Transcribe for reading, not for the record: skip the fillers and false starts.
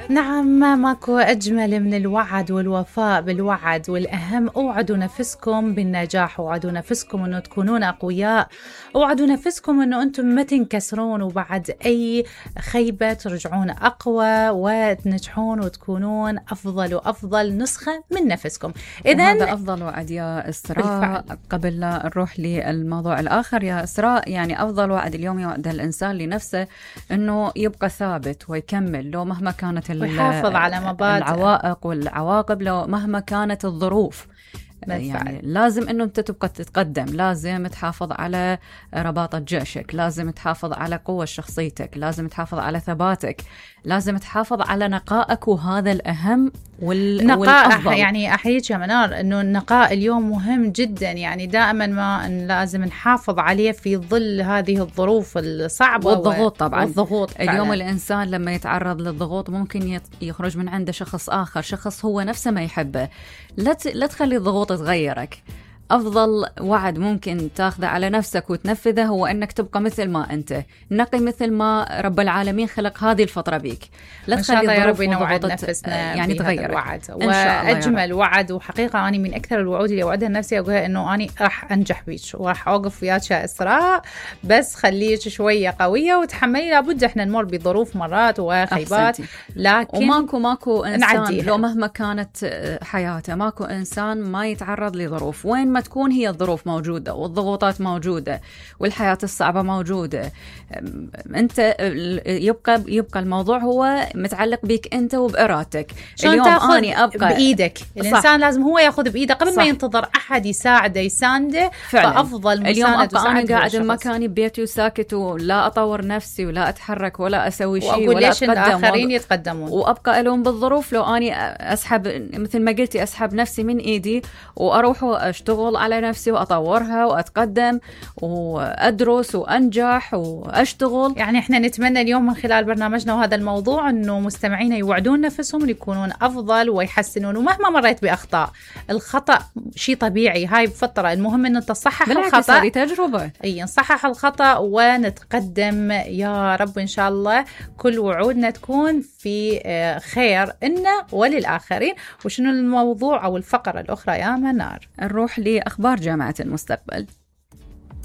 نعم، ماكو أجمل من الوعد والوفاء بالوعد، والأهم اوعدوا نفسكم بالنجاح، اوعدوا نفسكم أنه تكونون أقوياء، اوعدوا نفسكم أنه أنتم ما تنكسرون، وبعد أي خيبة ترجعون أقوى وتنجحون وتكونون أفضل وأفضل نسخة من نفسكم. إذن هذا أفضل وعد يا إسراء. قبل لا نروح للموضوع الآخر يا إسراء، يعني أفضل وعد اليوم يوعد الإنسان لنفسه أنه يبقى ثابت ويكمل لو مهما كانت ويحافظ على مبادئ العوائق والعواقب، لو مهما كانت الظروف. يعني لازم أنه أنت تبقى تتقدم، لازم تحافظ على رباطة جيشك، لازم تحافظ على قوة شخصيتك، لازم تحافظ على ثباتك، لازم تحافظ على نقائك، وهذا الأهم والأفضل. يعني أحييك يا منار أنه النقاء اليوم مهم جدا، يعني دائما ما لازم نحافظ عليه في ظل هذه الظروف الصعبة والضغوط. طبعا والضغوط اليوم الإنسان لما يتعرض للضغوط ممكن يخرج من عنده شخص آخر، شخص هو نفسه ما يحبه. لا تخلي الضغوط تغيرك. أفضل وعد ممكن تاخذه على نفسك وتنفذه هو أنك تبقى مثل ما أنت، نقي مثل ما رب العالمين خلق هذه الفطرة بيك. لا تخلي الظروف وضغوطات نفسنا يعني تغيرك. الوعد وأجمل وعد، وحقيقة أنا من أكثر الوعود اللي أوعدها لنفسي أقولها أنه أنا راح أنجح بيك وراح أوقف وياك يا إسراء، بس خليك شوية قوية وتحملي. لابد إحنا نمر بظروف مرات وخيبات، لكن وماكو إنسان لو مهما كانت حياته، ماكو إنسان ما يتعرض لظروف. وين ما تكون هي الظروف موجودة والضغوطات موجودة والحياة الصعبة موجودة، أنت يبقى الموضوع هو متعلق بك أنت وبإرادتك. اليوم أنا أبقى بإيدك. الإنسان لازم هو يأخذ بإيده قبل ما ينتظر أحد يساعده يسانده. فأفضل اليوم أبقى أنا قاعد مكاني ببيتي وساكت ولا أطور نفسي ولا أتحرك ولا أسوي شيء ولا أتقدم، الآخرين يتقدمون، وأبقى ألوم بالظروف. لو أنا أسحب مثل ما قلتي، أسحب نفسي من إيدي وأروح وأشتغل على نفسي وأطورها وأتقدم وأدرس وأنجح وأشتغل. يعني إحنا نتمنى اليوم من خلال برنامجنا وهذا الموضوع أنه مستمعينا يوعدون نفسهم يكونون أفضل ويحسنون، ومهما مريت بأخطاء. الخطأ شيء طبيعي، هاي بفترة، المهم أنه تصحح الخطأ. هذه تجربة. نصحح الخطأ ونتقدم يا رب. إن شاء الله كل وعودنا تكون في خير إنا وللآخرين. وشنو الموضوع أو الفقرة الأخرى يا منار؟ نروح لأخبار جامعة المستقبل.